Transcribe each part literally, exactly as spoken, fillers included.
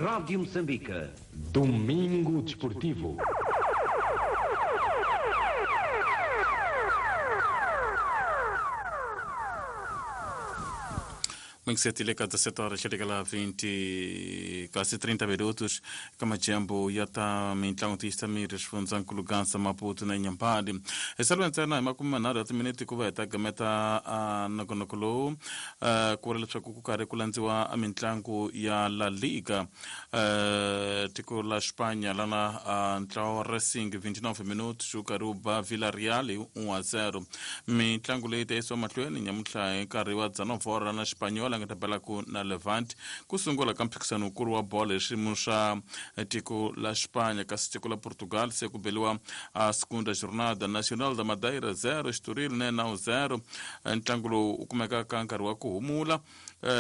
Rádio Moçambique. Domingo Desportivo. vinte e sete leka dezessete horas chega vinte quase trinta minutos kama jambo yata mintlangu tiyisa miri xifundzankulu Gaza, Maputo na Inhambane. Esalweni ntsena hi makume manharhu ya timinete ku va hi ta gameta nongonoko lowu, ku ri leswaku ku karhi ku landziwa mitlangu ya La Liga, tiko la Spanya, lana ntlawa wa Racing vinte e nove minutos wu karhi wu ba Villarreal hi one a zero. Mitlangu leyi ta yisiwa mahlweni nyamuntlha hi nkarhi wa dzana na Espanyol a nga ta belaku na Levante ku sungula ka mphikisano wukulu wa bolo hi swiyimo swa tiko la Spanya. Kasi tiko la Portugal se ku beliwa a segunda jornada: Nacional da Madeira zero, Estoril Nenão zero. Ntlangu lowu wu kumeka ka nkarhi wa ku humula.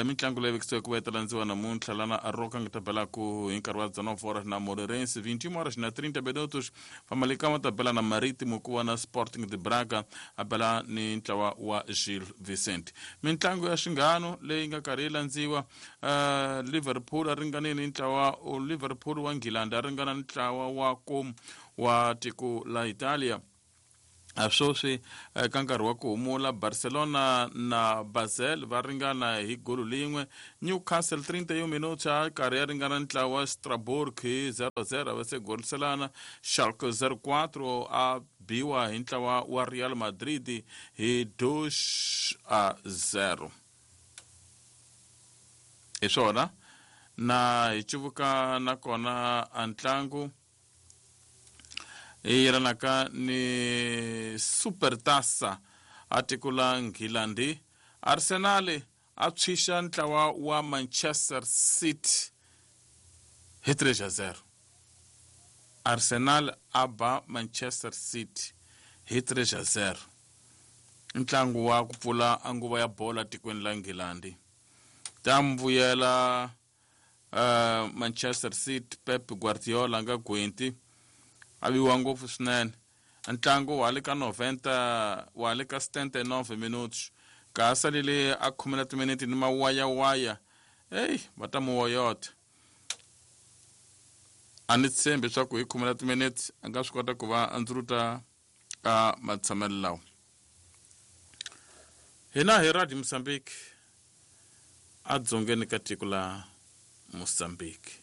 Mitlangu leyi vekisiweke ku va yi ta landziwa namuntlha, lana Arouca nga ta belaku hi nkarhi wa dzana horas na Moreirense, vinte e uma horas na trinta minutos Famalicão ta bela na Marítimo, ku va na Sporting de Braga a bela ni ntlawa wa Gil Vicente. Mitlangu ya xinghano leyi nga karhi yi landziwa, uh, Liverpool a ringanile ni ntlawa Liverpool wa Nghilandi a ringana ntlawa wa Como wa tiko la Italia. Sweswi ka nkarhi wa ku humula, Barcelona na Basel va ringana hi golo lin'we. Newcastle trinta e um minutos a karhi ya ringana ntlawa wa Strasbourg hi zero zero, va se goliselana. Schalke zero quatro a biwa hi ntlawa wa Real Madrid hi two a zero. Hi swona na hi civuka nakona a ntlangu yi yelanaka ni Supertaça a tiko la Nghilandi, Arsenal a tshwixa ntlawa wa Manchester City hi three a zero. Arsenal a ba Manchester City hi three a zero, ntlangu wa ku pfula nguva ya bolo tikweni la Nghilandi. Ta mbuyela uh, Manchester City, Pep Guardiola nga gwenti a viwa ngopfu swinene. Ntlangu wa le ka noventa, wa le ka setenta e nove minutos, ka ha salele a khume na timinete ni mawayawaya. Eyi, va ta mu woyota. A ni tshembi leswaku hi khume na timinete a nga swi kota ku va a ndzuruta ka matshamelo lawa. Hina hi Radio Mozambique, adzongeni ka tiko la Mozambique.